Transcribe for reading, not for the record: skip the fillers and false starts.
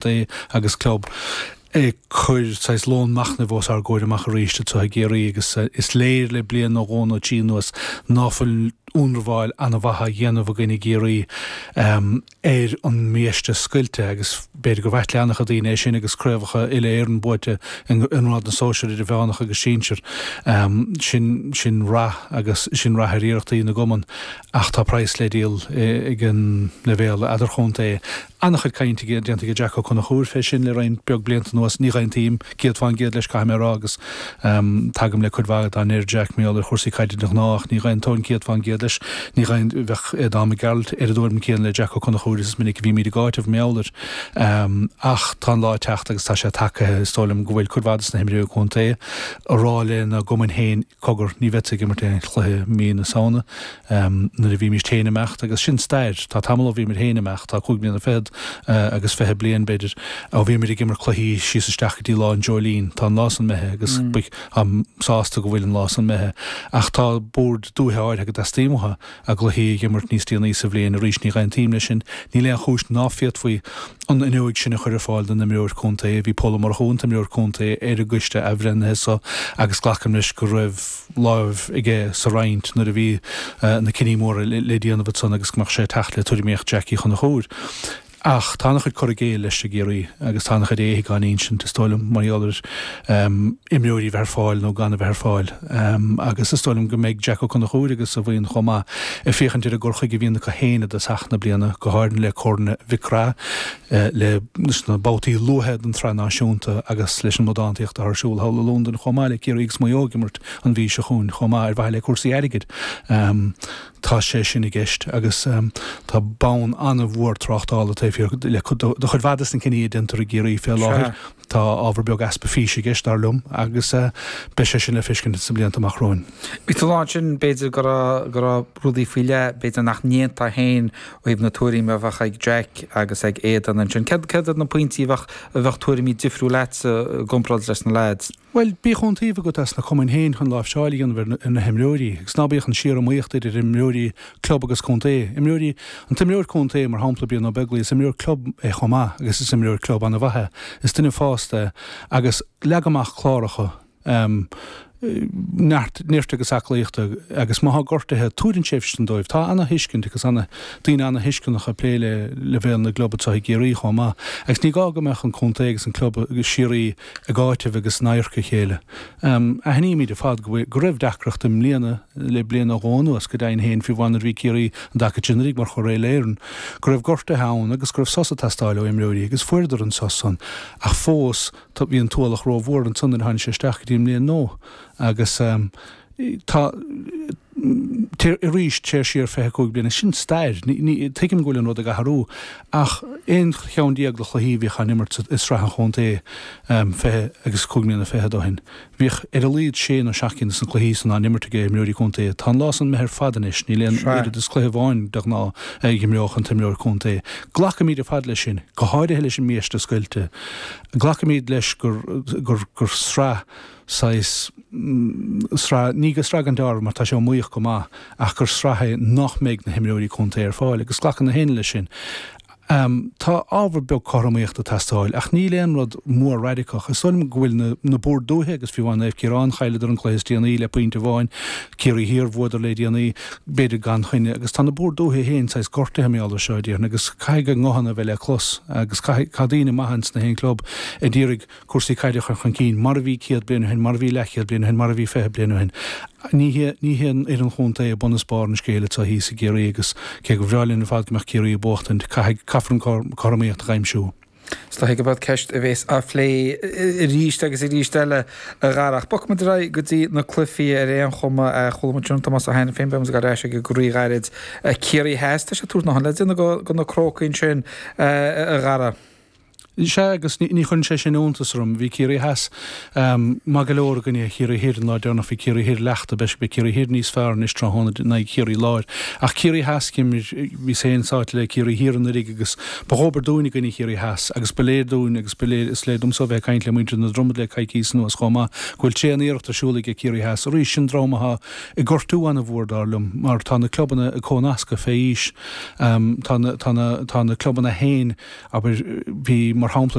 Contae agus Club ag cur saghas lón machnaimh os ár gcomhair amach arís anseo i gCiarraí agus is léir le bliain nó dhó nó trí anuas ná fuil ionramháil an-mhaith á dhéanamh againn i gCiarraí ar an mbiaiste scoilte agus b'fhéidir gur ait le an-chuid daoine é sin agus craobhacha uile-Éireann buaite i ngrád na sóisear idirmheánach agus sinsir. Sin sin rath agus sin rath ar iarrachtaí na gcumann ach tá praghas le díol ag an leibhéal eadarchontae. An-chuid cainte déanta ag Jack Ó Conchúir fé sin le roinnt beag blianta anuas. Ní dh'aontaím 100% leis, caithfidh mé a rá, agus tagaim le cuid mhaith dá ndeir Jack mar gheall ar chúrsaí caide de ghnáth, ach ní dh'aontóinn 100% leis. Ní bheadh Aodán Mac Gearailt ar an dtuairim céanna le Jack Ó Conchúir is is minic a bhímid ag áiteamh mar gheall air. Ach tá an lá ag teacht agus tá sé tagaithe, is dóigh liom, go bhfuil cuid mhaith des na himreoirí contae ag rá lena gcumainn féin, Cogar, ní bheadsa ag imirt aon chluiche mí na Samhna nuair a bhímíst féin ag imeacht, agus sin stair. Tá tamall ó bhíomar féin ag imeacht, tá cúig bliana fichead agus 20 bliain, b'fhéidir, ó bhíomar ag imirt cluichí síos isteach go dtí lá an dreoilín. Tá an lá san imithe agus táim sásta go bhfuil an lá san imithe. Ach tá boird dúiche áirithe go dteastaíonn uathu a gcluichí a dh'imirt níos déanaí sa bhliain. Arís, ní dh'aontaím leis sin. Níl aon chúis ná féadfaí an fhuinneoig sin a chur ar fáil don imreoir contae. Bhí Pól Ó Murchú, an t-imreoir contae, ar an gcoiste athbhreithnithe so agus glacaim leis go raibh láimh aige sa roinnt nuair a bhí na cinní móra le déanamh ansan agus go mbeadh sé ag teacht le tuairimíocht Jack Uí Chonchúir. Ach tá an-chuid cur i gcéill leis i gCiarraí agus tá an-chuid éithigh á n-insint, is dóigh liom, mar gheall ar imreoirí a bheith ar fáil nó gan a bheith ar fáil. Agus is dóigh liom go mbeidh Jack Ó Conchúir agus a bhuíon chomh maith ag féachaint ar an gcur chuige a bhíonn acu féin i dtosach na bliana, go háirithe le Corn Mhic Craith, leis na babhtaí luatha den tSraith Náisiúnta agus leis an mbradántaíocht atá ar siúl thall i Londain chomh maith le Ciarraí agus Maigh Eo ag imirt an mhí seo chugainn chomh maith ar mhaithe le cúrsaí airgid. Tá sé sin i gceist agus tá bonn an-mhór tráchtála taobh thiar de chuid mhaith de na cinní a déantar i gCiarraí fé láthair. Tá ábhar beag easpa físe i gceist, dar liom, agus beidh sé sin le feiscint sna blianta amach romhainn. Bhí tú ag rá ansin, b'fhéidir, go raibh, go raibh rudaí faoi leith, b'fhéidir nach ndéanfá féin ó thaobh na tuairimí a bheadh ag Jack agus ag Aodán ansin. Céard, céard iad na pointí a bheadh, a bheadh tuairimí difriúil agatsa i gcomparáid leis na leaids? Bhuel, bíodh iontaoibh agat as na cumainn féin chun láimhseáil a dhéanamh ar na himreoirí, agus ná bíodh an síor-iomaíocht idir imreoirí club agus contae. Imreoirí, an t-imreoir contae, mar shampla, Brian Ó Beaglaoich, is imreoir club é chomh maith agus is imreoir club an-mhaith é. Is duine fásta é. Agus leag amach cláracha neart, nirt agus aclaíochta agus má thá gortuithe, tabhair an tréimhse sin dóibh. Tá ana-thuiscint agus ana, daoine ana-thuisceanacha ag plé le leibhéal na gclub anseo i gCiarraí chomh maith. Agus ní gá go mbeadh an contae agus an club síoraí ag áiteamh agus in adharca a chéile. Aithnímid ar fad go go raibh deacracht i mbliana, le bliain nó dhó anuas, go deimhin féin, fiú amháin nuair a bhí Ciarraí an dtaca sin anuraidh mar churaidh Uile-Éireann, go raibh gortuithe ann agus go raibh sos ag teastáil ó imreoirí agus fuaireadar an sos san ach fós bhí an t-ualach rómhór ansan nuair a tháinig sé isteach go dtí an mbliain nua agus tá arís, téir siar 25 bliain, sin stair. Tuigim go bhfuil an rud ag athrú, ach aon cheann déag de chluichí a bhíodh á n-imirt i sraith an chontae 20 agus cúig mbliana fichead ó shin, bhíodh ar a laghad sé nó seacht gcinn de na cluichí san á n-imirt ag imreoirí contae. Tá an lá san imithe ar fad anois, níl aon oiread is cluiche amháin de ghnáth a imreodh an t-imreoir contae. Glacaimid ar fad leis sin, go háirithe leis an mbiaiste scoilte. Glacaimid leis gur gur sraith saghas sraith, ní go sraith gan dealramh mar tá sé iomaíoch go maith, ach gur sraith é nach mbeidh na himreoirí contae ar fáil agus glacann na héinne leis sin. Tá ábhar beag cothromaíochta ag teastáil ach níl aon rud mór raidiceach. Is dóigh liom go bhfuil na na boird dúiche agus fiú amháin Naomh Ciarán, chailleadar an cluiche is déanaí le pointe amháin, Ciarraí Thiar, bhuadar le déanaí, b'fhéidir gan choinne, agus tá na boird dúiche féin saghas gortaithe mar gheall air seo, déarfainn, agus caithfidh a nguthanna a bheith le clos agus caithfidh, tá daoine maithe ins na haon club a d'iarraidh cúrsaí caide a chur chun cinn, mar a bhí 100 bliain ó shin, mar a bhí leathchéad bliain ó shin, mar a bhí 20 bliain ó shin. Ní hé ní hé an fhoireann chontae bun is barr an scéil anseo thíos i gCiarraí agus cé gur bhreá linn ar fad go mbeadh Ciarraí ag buachtaint, caithfidh, caithfear an cothromaíocht a aimsiú. Is dóigh gurb í ceist a bhéas á phlé arís agus arís eile, a Dhara. Ach bogfaidh muid ar aghaidh go dtí na cluichí ar aon chuma. Chuala muid sin Tomás Ó hAiniféin, beidh muid ag dul ar ais aige go ríghairid. Ciarraí Theas, tá sé ag tabhairt a ndóthain le déanamh do na Crócaigh ansin, a Dhara. Sea, agus ní chuireann sé sin iontas orm. Bhí Ciarraí Theas maith go leor i gcoinne Chiarraí Thoir an lá deireanach. Bhí Ciarraí Thoir leachta. Beidh Ciarraí Thoir níos fearr anois tráthnóna in aghaidh Chiarraí Láir. Ach Ciarraí Theas, bhíos féin sáite le Ciarraí Thiar anuraidh agus ba dhóbair dúinn i gcoinne Chiarraí Theas agus ba léir dúinn agus ba léir, is léir domsa ó bheith ag caint le muintir na Dromad le coicíos anuas chomh maith, go bhfuil tréan-iarracht ar siúl aige Ciarraí Theas. Arís, sin dream atá ag gortú an-mhór dar liom mar tá na clubanna ag comhnascadh fé aois. Tá na, tá na, tá na clubanna féin, Abair, bhí, mar. Mar shampla.